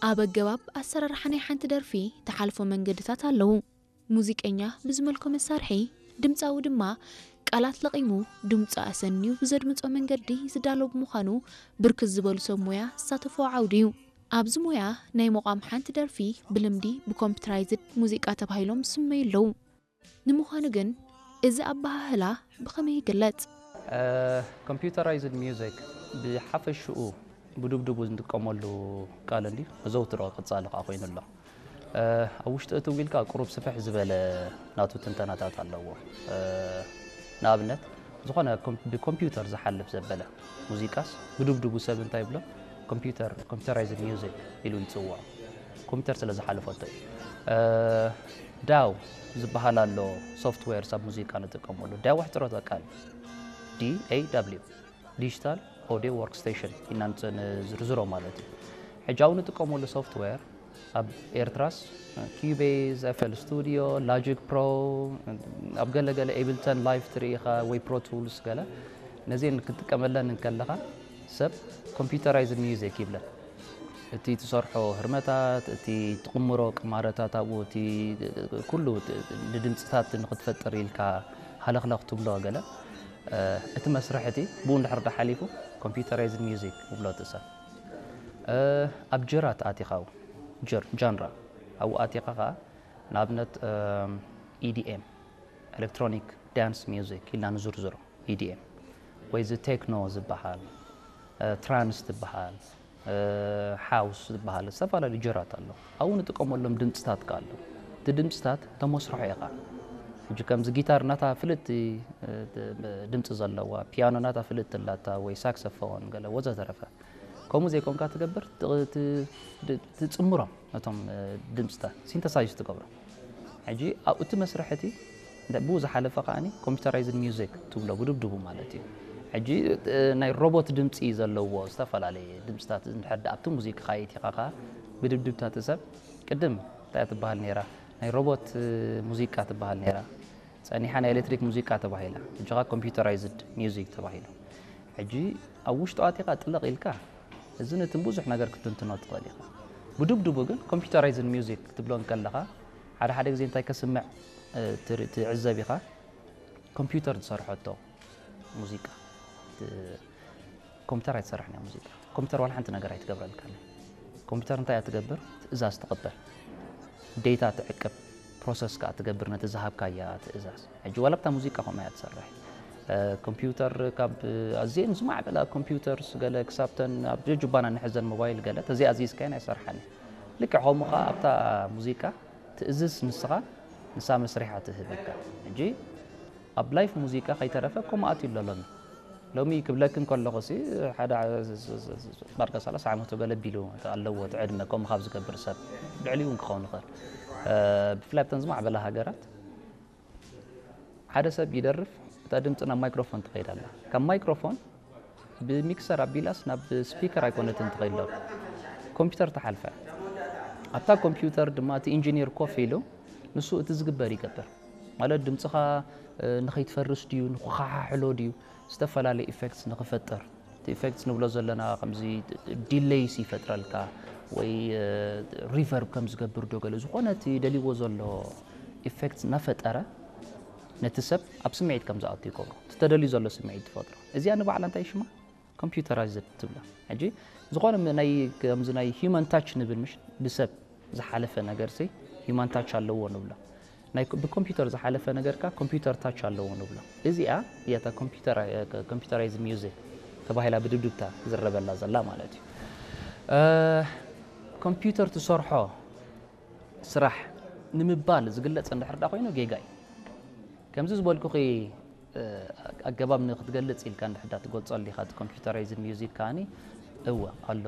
ኣብ ኣገባብ ኣሰራርሓ ናይ ሓንቲ ደርፊ ተሓልፎ መንገድታት ኣለዉ። ሙዚቀኛ ብዝመልኮ መሳርሒ፣ ድምፃዊ ድማ ቃላት ለቒሙ ድምፁ ኣሰንዩ ብዘድምፆ መንገዲ ዝዳሎ ብምዃኑ ብርክት ዝበሉ ሰብ ሞያ ዝሳተፍዎ ዓውዲ እዩ። ኣብዚ ሞያ ናይ ምቋም ሓንቲ ደርፊ ብልምዲ ብኮምፒውተራይዝድ ሙዚቃ ተባሂሎም ዝስመዩ ኣለዉ። ንምዃኑ ግን እዚ ኣበሃህላ ብኸመይ ይግለጽ? ኮምፒውተራይዝድ ሚውዚክ ብሓፈሽኡ ብድብድቡ እንጥቀመሉ ቃል እንዲ መዘውትሮ ቅጻሊ ከዓ ኮይኑ ኣሎ። ኣብ ውሽጢ እቲ ዊልካ ቁሩብ ስፍሕ ዝበለ ናቱ ትንተናታት ኣለዎ። ንኣብነት ዝኾነ ብኮምፒውተር ዝሓልፍ ዘበለ ሙዚቃስ ብድብድቡ ሰብ እንታይ ይብሎ? ኮምፒውተር ኮምፒውተራይዝድ ሚውዚክ ኢሉ ይፅውዖ። ኮምፒውተር ስለ ዝሓለፈቶ እዩ። ዳው ዝበሃል ኣሎ ሶፍትዌር ኣብ ሙዚቃ ንጥቀመሉ። ዳው ኣሕፅሮተ ቃል D A W ዲጂታል ኦዲዮ ወርክ ስቴሽን ኢና ንዝርዝሮ ማለት እዩ። ሕጂ ኣብኡ ንጥቀመሉ ሶፍትዌር ኣብ ኤርትራስ ኪቤዝ፣ ኤፍኤል ስቱዲዮ፣ ሎጂክ ፕሮ፣ ኣብ ገለ ገለ ኤብልተን ላይፍ ትርኢ ኢኻ ወይ ፕሮ ቱልስ ገለ ነዚአን ክትጥቀመለን እንከለኻ ሰብ ኮምፒውተራይዝድ ሚውዚክ ይብለን። እቲ ትሰርሖ ህርመታት፣ እቲ ትቕምሮ ቅማረታት ኣብኡ፣ እቲ ኩሉ ንድምፅታት ንክትፈጥር ኢልካ ሃለኽለኽ ትብሎ ገለ እቲ መስርሕ እቲ ብኡ እንድሕር ዳ ሓሊፉ ኮምፒውተራይዝድ ሚውዚክ ይብሎ እቲ ሰብ። ኣብ ጀራት ኣቲኻ ጃንራ ኣብኡ ኣቲኻ ከዓ ንኣብነት ኢዲኤም ኤሌክትሮኒክ ዳንስ ሚውዚክ ኢልና ንዝርዝሮ ኢዲኤም ወይ እዚ ቴክኖ ዝበሃል ትራንስ ዝበሃል ሓውስ ዝበሃል ዝተፈላለዩ ጀራት ኣሎ። ኣብኡ ንጥቀመሎም ድምፅታት ከ ኣሎ። እቲ ድምፅታት ተመስርሖ ኢኻ። ሕጂ ከምዚ ጊታር ናታ ፍልጥቲ ድምፂ ዘለዋ፣ ፒያኖ ናታ ፍልጥቲ ኣላታ ወይ ሳክሰፎን ገለ ወዘተረፈ። ከምኡ ዘይኮንካ ትገብር፣ ትፅምሮም ነቶም ድምፅታት ሲንተሳይዝ ትገብሮም። ሕጂ ኣብኡ እቲ መስርሕ እቲ ብኡ ዝሓለፈ ከዓኒ ኮምፒውተራይዝድ ሚውዚክ ትብሎ ብድብድቡ ማለት እዩ። ሕጂ ናይ ሮቦት ድምፂ ዘለዎ ዝተፈላለየ ድምፅታት እንድሕር ኣብቲ ሙዚቃ ካየት ኢኻ ከዓ ብድብድብታት ሰብ ቅድም እንታይ ትበሃል ነይራ ናይ ሮቦት ሙዚቃ ትበሃል ነይራ ጸኒሓ ናይ ኤሌክትሪክ ሙዚቃ ተባሂላ ሕጂ ከዓ ኮምፒውተራይዝድ ሚውዚክ ተባሂሉ። ሕጂ ኣብ ውሽጡ ኣቲኻ ጥልቕ ኢልካ እዚ ነትን ብዙሕ ነገር ክትንትኖ ትኽእል ኢኻ። ብድብድቡ ግን ኮምፒውተራይዝድ ሚውዚክ ክትብሎ እንከለኻ ሓደ ሓደ ግዜ እንታይ ከስምዕ ትዕዘብ ኢኻ። ኮምፒውተር ዝሰርሐቶ ሙዚቃ ኮምፒውተር ኣይትሰርሕን እያ ሙዚቃ። ኮምፒውተር ዋላ ሓንቲ ነገር ኣይትገብረልካን። ኮምፒውተር እንታይ እያ ትገብር? ትእዛዝ ትቕበል፣ ዴታ ትዕቅብ፣ ፕሮሰስ ከዓ ትገብር ነቲ ዝሃብካያ ትእዛዝ። ሕጂ ዋላ ኣብታ ሙዚቃ ከምኡ እያ ትሰርሕ። ኮምፒውተር ካብ ኣዝየን ዝማዕበላ ኮምፒውተርስ ገለ ክሳብተን ኣብ ጀጁባና ንሕዘን ሞባይል ገለ ተዘይኣዚዝካየን ኣይሰርሓን። ልክዕ ከምኡ ከዓ ኣብታ ሙዚቃ ትእዝዝ ንስኻ ንሳ መስሪሓ ትህበካ። ሕጂ ኣብ ላይፍ ሙዚቃ ከይተረፈ ከምኡ ኣትዩ ኣሎ ሎሚ። ሎሚ ክብለክን ከለኹ ሲ ሓደ ባርካ ሰላሳ ዓመቱ ገለ ቢሉ ኣለዎ እቲ ዕድመ ከምኡ ካብ ዝገብር ሰብ ልዕሊኡ እውን ክኸውን ይኽእል። ብፍላይ ኣብተን ዝማዕበላ ሃገራት ሓደ ሰብ ይደርፍ እታ ድምፂ ናብ ማይክሮፎን ትኸይድ ኣላ ካብ ማይክሮፎን ብሚክሰር ኣቢላስ ናብ ስፒከር ኣይኮነትን ትኸይድ ሎ ኮምፒውተር ተሓልፈ ኣብታ ኮምፒውተር ድማ እቲ ኢንጂኒር ኮፍ ኢሉ ንሱ እቲ ዝግበር ይገብር ማለት ድምፅኻ ንኸይትፈርስ ድዩ ንክኸሓሕሎ ድዩ ዝተፈላለዩ ኢፌክትስ ንክፈጥር እቲ ኢፌክትስ ንብሎ ዘለና ከምዚ ዲሌይስ ይፈጥረልካ ወይ ሪቨርብ ከም ዝገብር ዶ ገለ ዝኾነ እቲ ደልይዎ ዘሎ ኢፌክትስ እናፈጠረ ነቲ ሰብ ኣብ ስምዒት ከም ዝኣቱ ይገብሮ እቲ ተደልዩ ዘሎ ስምዒት ትፈጥሮ እዚኣ ንባዕላ እንታይ ሽማ ኮምፒውተራይዝድ ትብላ ሕጂ ዝኾነ ናይ ከምዚ ናይ ሂማን ታች ንብል ምሽ ብሰብ ዝሓለፈ ነገር ሲ ሂማን ታች ኣለዎ ንብሎ ናይ ብኮምፒውተር ዝሓለፈ ነገርካ ኮምፒውተር ታች ኣለዎ ንብሎ እዚኣ እያታ ኮምፒውተራይዝ ሚውዚክ ተባሂላ ብድብድብታ ዝረበላ ዘላ ማለት እዩ ኮምፒውተር ትሰርሖ ስራሕ ንምባል ዝግለፅ እንድሕር ዳ ኮይኑ ጌጋ እዩ ከምዚ ዝበልኩኺ ኣገባብ ንክትገልፅ ኢልካ እንድሕር ዳ ትገልፆ ኣሊካ እቲ ኮምፒውተራይዝድ ሚውዚክ ከዓኒ እወ ኣሎ